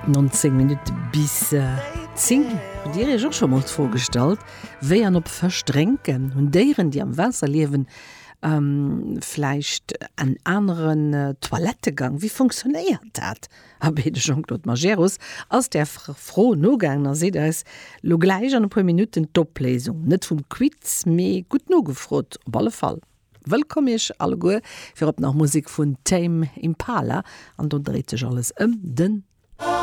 19 Minutte bis 10. Hutt Dir Iech och scho mol d'Fro gestallt, wéi an ob Fësch drénken? Hunn Déieren, déi am Waasser liewen, vläicht en aneren Toilettegang? Wéi funktionéiert dat? Abee, de Jean-Claude Majerus ass där Fro nogaangen a seet eis lo gläich an e puer Minutten d'Opléisung. Net vum Quiz, mee gutt nogefrot op alle Fall. Wëllkomm iech alleguer, virop nach Musek vun Tame Impala an do dréit sech alles ëm den.